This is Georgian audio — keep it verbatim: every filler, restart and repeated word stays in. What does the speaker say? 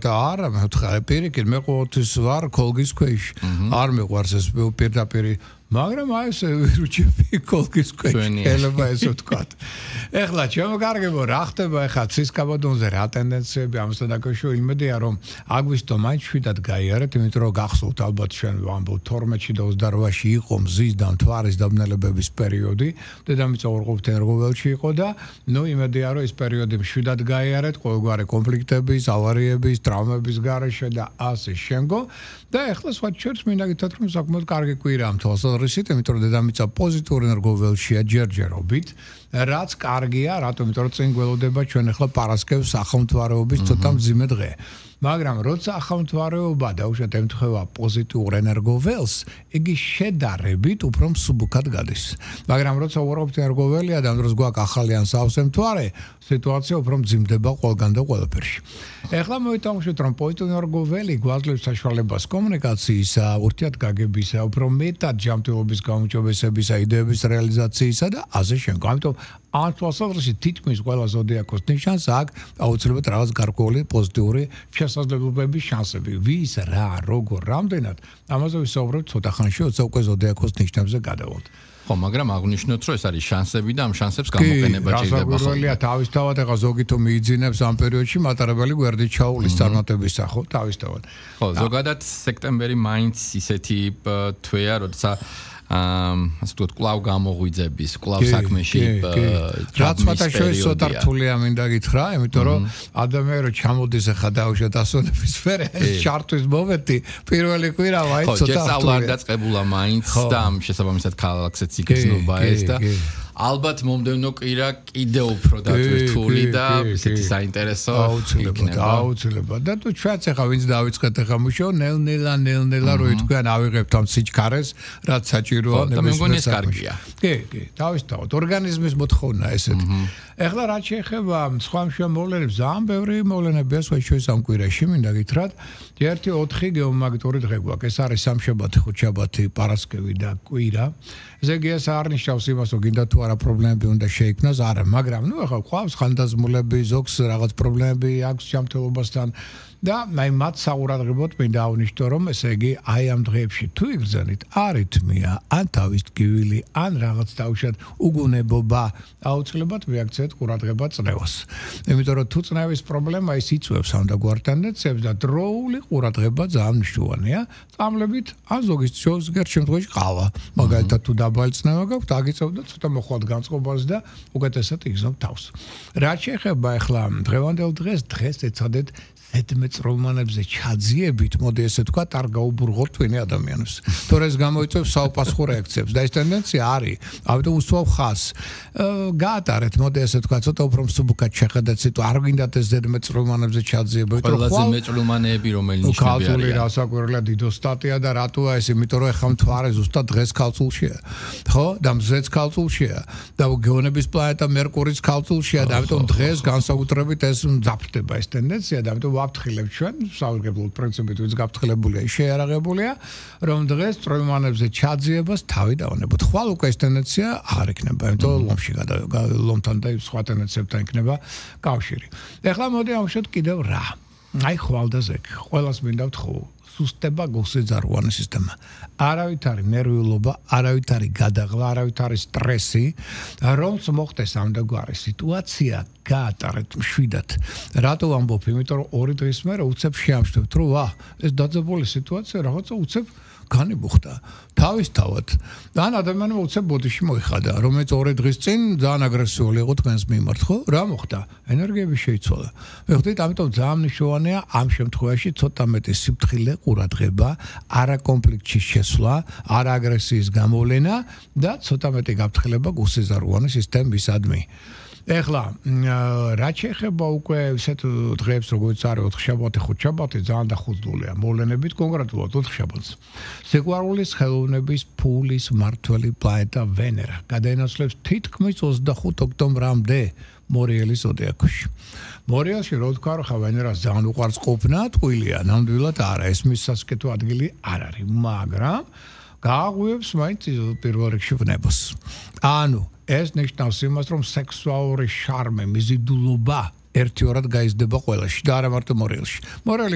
და არა მე პირიქით მე ყოველთვის ვარ კოლგის ქვეშ არ მეყვარს ეს პირდაპირ მაგრამ აი ეს ვირუჩები კოლგის ქვეშ ელება ესე თქვა ეხლა ჩემო კარგებო რა ხდება ეხლა ცის კაბადონზე რა ტენდენციები ამასთან დაკავშირებით იმედია რომ აგვისტო მაინც შვიდად გაიარეთ იმიტომ რომ გახსოვთ ალბათ ჩვენ ვამბობ თორმეტში და ოცდაოთხში იყო მზის და მთვარის დაბნელებების პერიოდი დედამიწა ორყოფითი ენერგოველში იყო და ნუ იმედია რომ ეს პერიოდი შვიდად გაიარეთ ყოველგვარი კონფლიქტების ავარიების ტრავმების გარეშე და ასე შემდგომ და ეხლა სხვა ჩვენს მინდა გითხრათ რომ საკმაოდ კარგი კვირაა თვალსაზრისით იმიტომ რომ დედამიწა პოზიტიურ ენერგოველშია ჯერჯერობით რაც კარგია რატომ იმიტომ რომ წინ გველოდება ჩვენ ეხლა პარასკევს ახალმთვარეობის ცოტა მძიმე დღე მაგრამ როცა ახალმთვარეობა დაუშვათ ემთხვევა პოზიტიურ ენერგოველს იგი შედარებით უფრო მსუბუქად გადის მაგრამ როცა უარყოფითი ენერგოველია და ამ დროს გვაქვს ახალი ან სავსე მთვარე სიტუაცია უფრო მძიმდება ყველგან და ყველაფერში ეხლა მოვიტანხმოთ რომ პოზიტიური ენერგოველი გვაძლევს საშუალებას კომუნიკაციისა ურთიერთგაგებისა უფრო მეტად ჯანმრთელობის გაუმჯობესებისა იდეების რეალიზაციისა და ასე შემდგომ ამიტომ ამ თვალსაზრისით თითქმის ყველა ზოდიაქოს ნიშანს აქვს აუცილებლად რაღაც გარკვეული პოზიტიური შესაძლებლობების შანსები ვის რა როგორ რამდენად ამაზე ვისაუბრებთ ცოტა ხანში როცა უკვე ზოდიაქოს ნიშნებზე გადავალთ ხო მაგრამ აღნიშნოთ რომ ეს არის შანსები და ამ შანსებს გამოყენება შეიძლება ხო კი თავისთავად ეხა ზოგი თუ მიიძინებს ამ პერიოდში მატარებელი გვერდით ჩაულის წარმატებისა ხო თავისთავად ხო ზოგადად სექტემბერი მაინც ისეთი თვეა როცა ამ ასე ვთქვათ კლავ გამოღვიძების კლავ საქმეში რაც მათაშორის ცოტა რთულია მინდა გითხრა იმიტომ რომ ადამიანი რომ ჩამოდის ახლა დაუშვათ ასონების სფერო ეს ჩარტვის მომენტი პირველი კვირა ვაი ცოტა ხო ჯერ არ დაწყებულა მაინც და ამ შესაბამისად ქალაქსაც იგრძნობა ეს და ალბათ მომდევნო კვირა კიდევ უფრო დატვირთული და ისეთი საინტერესო აუცილებლად აუცილებლად და თუ ჩვენც ახლა ვინც დავიწყეთ ახლა მუშაობა ნელ-ნელა ნელ-ნელა რო ითქვიან ავიღებთ ამ სიჩქარეს რაც საჭიროა ნებისმიერ საკითხია კი კი თავისთავად ორგანიზმის მოთხოვნა ესეთი ეხლა რაც შეეხება სხვა მოვლენებს ძალიან ბევრი მოვლენებია სხვა შორის ამ კვირაში მინდა გითხრათ ერთი ოთხი გეომაგნიტური დღე გვაქვს ეს არის სამშაბათი ხუთშაბათი პარასკევი და კვირა ესე იგი ეს არ ნიშნავს იმას რომ გინდა თუ არა პრობლემები უნდა შეიქმნას არა მაგრამ ნუ ახლა ყავს ხანდაზმულები ზოგს რაღაც პრობლემები აქვს ჯანმრთელობასთან და აი მათ საყურადღებოდ მინდა აღნიშნო რომ ესე იგი აი ამ დღეებში თუ იგრძნით არითმია ან თავის ტკივილი ან რაღაც დაუშვათ უგუნებობა აუცილებლად მიაქცეთ ყურადღება წნევას იმიტომ რომ თუ წნევის პრობლემა ის იწვევს ამ დაგვარ ტენდენციებს და დროული ყურადღება ძალიან მნიშვნელოვანია წამლებით ან ზოგის ზოგიერთ შემთხვევაში ყავა მაგალითად თუ დაბალი წნევა გაქვთ აგიწევთ და ცოტა მოხვალთ განწყობას და უკეთესად იგრძნობთ თავს რაც შეეხება ახლა დღევანდელ დღეს დღეს ეცადეთ ზედმეწრომანებზე ჩაძიებით, მოდი ესე თქვა, არ გაუბრუღოთ თქვენი ადამიანებს. თორე ეს გამოიწვევს საოპასუხო რეაქციებს და ეს ტენდენცია არის. ამიტომ უსვავ ხას. გაატარეთ, მოდი ესე თქვა, ცოტა უფრო მსუბუქად შეხედეთ სიტუაცია. არ გინდათ ეს ზედმეწრომანებზე ჩაძიება, იმიტომ რომ ყველაზე მეწრომანეები რომელი ნიშნები არის. ქალწული რასაკვირველია დიდო სტატია და რატოა ეს, იმიტომ რომ ეხლა მთვარე ზუსტად დღეს ქალწულშია. ხო? და მზეც ქალწულშია და გეონების პლანეტა მერკურიც ქალწულშია და ამიტომ დღეს განსაკუთრებით ეს მძაფრდება ეს ტენდენცია და ამიტომ ვაფრთხილებთ ჩვენ, საუბრობთ პრინციპით ვინც გაფრთხილებულია, შეარაღებულია, რომ დღეს წრომანებზე ჩაძიებას თავი დავანებოთ. ხვალ უკვე ეს ტენდენცია აღარ იქნება, იმიტომ რომ ლომში ლომთან და სხვა ტენდენციებთან იქნება კავშირი. ეხლა მოდი ამშვიდ კიდევ რა. აი ხვალდაზე, ყველას მინდა ვთხოვო. სუსტება გულსეძარღვანი სისტემა. არავით არის ნერვიულობა, არავით არის გადაღლა, არავით არის სტრესი, რომც მოხდეს ამდაგვარი სიტუაცია გაატარეთ მშვიდად. რატო ვამბობ? იმიტომ რომ ორი დღის მერე უცებ შეამშვიდობთ, რომ ვა, ეს დაძაბული სიტუაცია რაღაცა უცებ განიბუხდა. თავისთავად. ან ადამიანმა უცებ ბოდიში მოიხადა, რომელიც ორი დღის წინ ძალიან აგრესიული იყო თქვენს მიმართ, ხო? რა მოხდა? ენერგიები შეიცვალა. ვეხდით, ამიტომ ძალიან მნიშვნელოვანია ამ შემთხვევაში ცოტა მეტი სიფრთხილე, ყურადღება, არა კონფლიქტში შესვლა, არა აგრესიის გამოვლენა და ცოტა მეტი გაფრთხილება გულსეზარღვანი სისტემისადმი. ეხლა რა შეეხება უკვე ისეთ დღეებს როგორც არის ოთხშაბათი, ხუთშაბათი ძალიან დახუძულია მოვლენებით კონკრეტულად ოთხშაბათს. სიყვარულის ხელოვნების ფულის მმართველი პლანეტა ვენერა გადაინაცვლებს თითქმის ოცდახუთ ოქტომბრამდე მორიელის ზოდიაქოში. მორიელში რო თქვა რომ ხა ვენერას ძალიან უყვარს ყოფნა, ტყუილია, ნამდვილად არა, ეს მის სასკეთო ადგილი არ არის, მაგრამ გააღვივებს მაინც პირველ რიგში ვნებას. ანუ ეს ნიშნავს იმას, რომ სექსუალური შარმე, მიზიდულობა ერთიორად გაიზრდება ყველაში და არა მარტო მორიელში. მორიელი